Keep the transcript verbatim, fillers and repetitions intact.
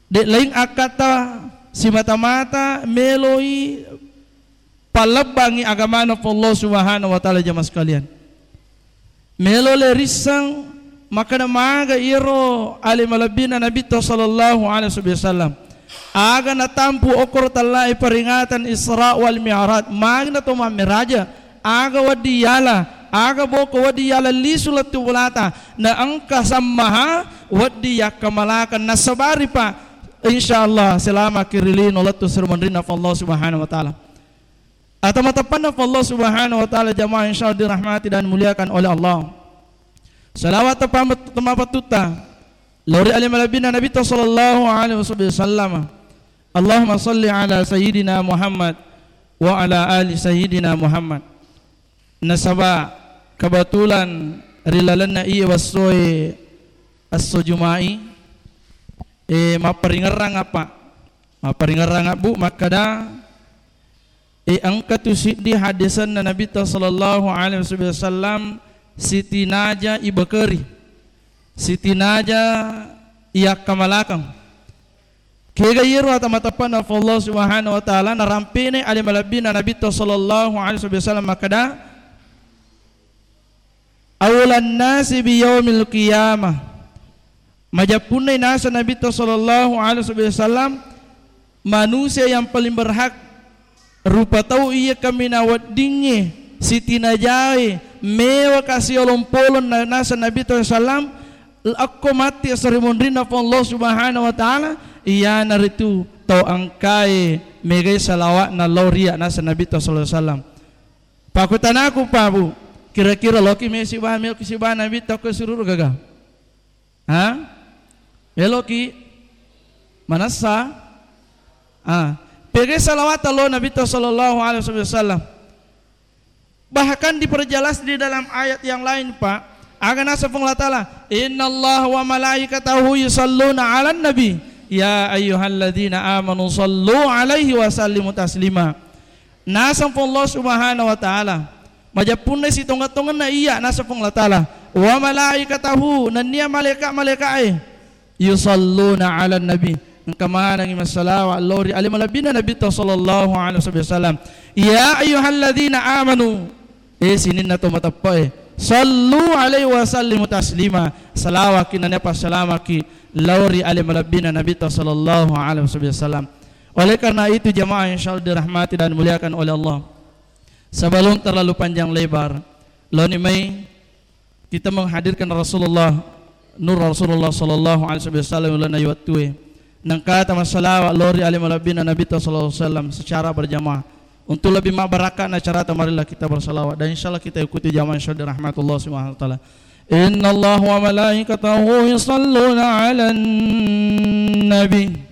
De' laing akkata simata-mata meloi pallebbangngi agamana Allah Subhanahu wa Ta'ala, jamaah sekalian. Melo le risseng makkeda maga iyaro ale malebbina Nabitta sallallahu alaihi wasallam. Aga natampu okkoro tellae peringatan Isra wal Mi'raj, magi na to mammeraja, aga wedding yala, aga boko wedding yala lisu lettu bolata, na engka sammaha wedding yakkamalakang nasabari, Pak. Insyaallah, selamaki ri lino lettu seri munrinna Allah Subhanahu wa Ta'ala. Atau matappanna Allah Subhanahu wa Ta'ala, jamaah insyaallah dirahmati dan dimuliakan oleh Allah. Salawat teppa-, temmapattutta lao ri ale malebbina Nabitta sallallahu alaihi wasallam. Allahumma salli ala sayyidina Muhammad wa ala ali sayyidina Muhammad. Nasaba kebetulan ri lalenna iye wassoe esso Juma'i, e, mapparingerrang apa? Mapparingerrang abbu makkeda, e, engka tu siddi haddesenna Nabitta sallallahu alaihi wasallam sitinaja ibekeri, sitinaja iyakkamalakang. Kega iyaro ata matappanna Allah Subhanahu wa Ta'ala, narampene ale malebbina Nabitta sallallahu alaihi wasallam makkeda, "Aulan nasi bi yaumil qiyamah." Majeppunna naseng Nabitta sallallahu alaihi wasallam, manusia yang paling berhak rupa tau iya kaminang weddingnge sitinajae mewa kasiolong-polong na-, naseng Nabitta sallallahu alaihi wasallam, akko matti seri munrinna Allah Subhanahu wa Ta'ala, iyanaritu tau engkae megai salawatna lao ri iya naseng Nabitta sallallahu alaihi wasallam. Pakkutanaku, Pak, Bu, kira-kira loki me siba, meloki siba Nabitta ko sururu gaga? Ha? Meloki? Manessa? Ah, pega salawat lo Nabitta sallallahu alaihi wasallam. Bahkan diperjelas di dalam ayat yang lain, Pak. Aga naseng Puang Allah Ta'ala, "Innallaha wa malaikatahu yusalluna 'alan nabi, ya ayyuhalladzina amanu sallu 'alaihi wa sallimu taslima." Naseng Puang Allah Subhanahu wa Ta'ala, majeppunna sitonga-tonganna iya, naseng Puang Allah Ta'ala, "Wa malaikatahu," nennia malaika-malaikae, "yusalluna 'alan nabi," engka manengngi massalawa lao ri ale malebbina Nabitta sallallahu alaihi wasallam. "Ya ayyuhalladzina amanu," e, sininna to mateppe'e, "sallu 'alaihi wa sallimu taslima," salawaki nennia passalamaki lao ri ale malebbina Nabitta sallallahu alaihi wasallam. Oleh karena itu, jamaah insyaallah dirahmati dan dimuliakan oleh Allah, sebelum terlalu panjang lebar, loni mai kita menghadirkan Rasulullah, nur Rasulullah sallallahu alaihi wasallam ulana iwattue. Nengkata massalawa lao ri ale malebbina Nabitta sallallahu alaihi wasallam secara berjamaah. Untuk lebih mabarakatna acarata, marilah kita bersalawat dan insyaallah kita ikuti jamaah insyaallah dirahmati Allah Subhanahu wa Ta'ala. Innallaha wa malaikatahu yusalluna 'alan nabi.